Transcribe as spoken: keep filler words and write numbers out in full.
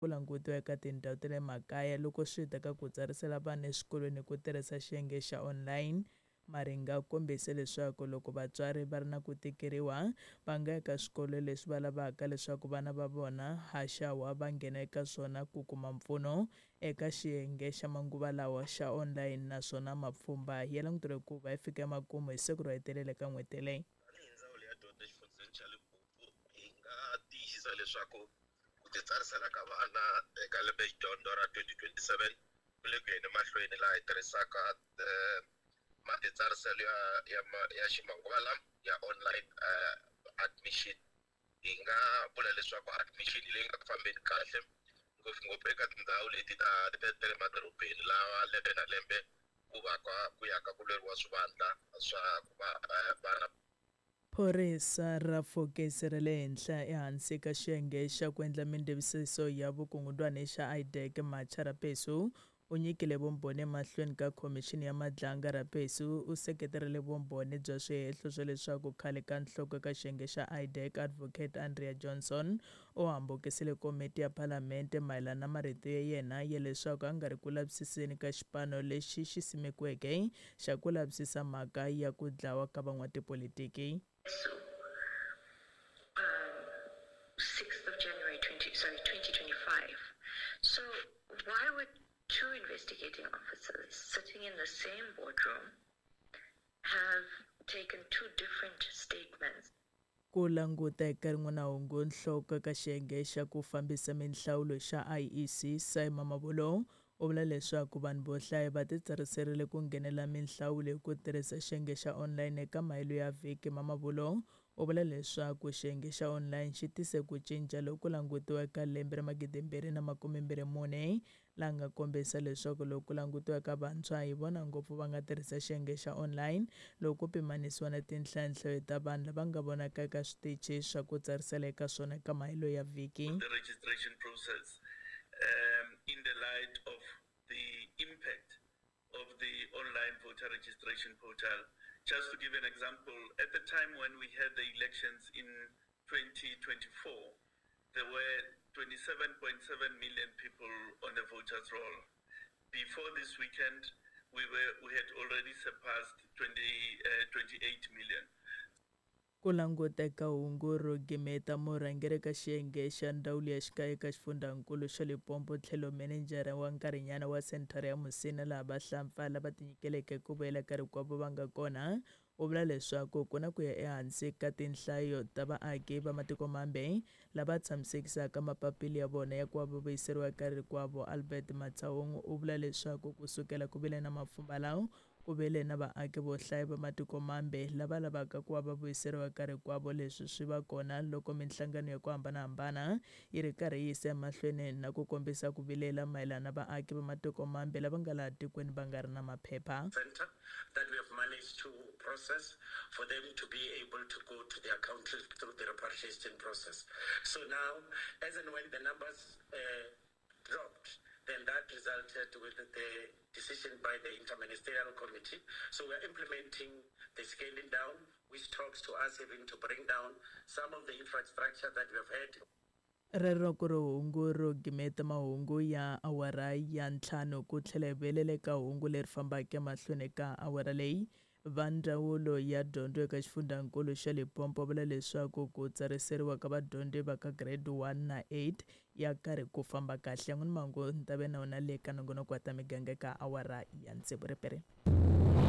Ku langutiwa eka tindhawu ta le makaya loko swi ta ka ku tsarisela vana eswikolweni hi ku tirhisa xiyenge xa online. Maringa u kombise leswaku loko vatswari va ri na ku tikeriwa va nga ya ka swikolo leswi va lavaka leswaku vana va vona haxawa va nghena eka swona ku kuma mpfuno eka xiyenge xa manguva lawa xa online, naswona mapfhumba ya languteriwe ku va ya fika emakumu hi siku ro hetelela ka n'hweti leyi. Tanihi ndzawulo ya dyondzo exifundzheni xa Limpopo hi nga tiyisisa leswaku ku titsarisela ka vana eka lembedyondzo ra twenty twenty-seven ku le ku yeni mahlweni, laha hi tirhisaka matitsariselo ya, ya, ya ximanguva lama ya online uh, admission. Hi nga vula leswaku admission leyi nga ku fambeni kahle ngopfungopfu eka tindhawu leti ta ta le madorobeni, laha lembe na lembe ku va ka ku ya ka ku lweriwa swivandla swa ku va vana. Phorisa ra fokisi ra le henhla ehansi ka xiyenge xa ku endla mindevisiso ya vukungundwani xa I D E C Macha Rapesu u nyikile vumbhoni emahlweni ka khomixini ya Madlanga. Rapesu u seketerile vumbhoni bya swihehlo swa leswaku khale ka nhloko ka xiyenge xa I D E C Advocate Andrea Johnson u hambukisile komiti ya Palamende mayelana na marito ya yena ya leswaku a nga ri ku lavisiseni ka xipano lexi xi simekiweke xa ku lavisisa mhaka ya ku dlawa ka van'watipolitiki. So, um, sixth of January twenty, sorry, twenty twenty-five. So why would two investigating officers sitting in the same boardroom have taken two different statements? Ku languta eka rin'wana hungu, nhloko ka xiyenge xa ku fambisa minhlawulo xa I E C Simon Mamabolo u vula leswaku vanhu vo hlaya va titsariserile ku nghenela minhlawulo hi ku tirhisa xiyenge xa online eka mahelo ya vhiki. Mamabolo u vula leswaku xiyenge xa online xi tise ku cinca loku langutiwa eka lembe ra magidi mbirhi na makume mbirhi mune, laha nga kombisa leswaku loko ku langutiwa ka vantshwa hi vona ngopfu va nga tirhisa xiyenge xa online loko ku pimanisiwa na tinhlanhlayo ta vanhu lava nga vonaka eka switichi swa ku tsarisela eka swona eka mahelo ya vhiki. The registration process, um, in the light of the impact of the online voter registration portal. Just to give an example, at the time when we had the elections in twenty twenty-four, there were twenty-seven point seven million people on the voters' roll. Before this weekend, we were, we had already surpassed twenty, uh, twenty-eight million. Ku languta eka hungu ro gimeta, murhangeri ka xiyenge xa ndzawulo ya xikaya eka xifundzankulu xa Limpopo tlhelo menejara wa nkarhinyana wa senthara ya Musina laha vahlampfa lava tinyikeleke ku vuyela ka rikwavo va nga kona, u vula leswaku ku na ku ya ehansi ka tinhlayo ta vaaki va matiko mambe lava tshamisekisaka mapapila ya vona ya ku va va vuyiseriwa eka rikwavo. Albert Matsaung u vula leswaku ku sukela ku vile na mapfhumba lawa ku vile na vaaki vo hlaya va matiko mambe lava lavaka ku va va vuyiseriwa eka rikwavo. Leswi swi va kona loko minhlangano ya ku hambanahambana yi ri karhi yi yisa emahlweni na ku kombisa ku vilela mayelana na vaaki va matiko mambe lava nga laha tikweni va nga ri na maphepha. Center that we have managed to process for them to be able to go to their country through the repatriation process. So now, as and when the numbers, uh, dropped, then that resulted with the decision by the Interministerial Committee. So we are implementing the scaling down, which talks to us having to bring down some of the infrastructure that we have had. Rero ku ri hungu ro gimeta mahungu ya awara ya ntlhanu ku tlhela hi vuyelela eka hungu leri fambaka emahlweni ka awara leyi. Va ndzawulo ya dyondzo eka xifundzankulu xa Limpopo vula leswaku ku tsariseriwa ka vadyondzi va ka grade one na eight ya karhi ku famba kahle. N'wini mahungu ni ta ve na wona le ka nongonoko wa ta miganga eka awara ya tsevu. Ripere.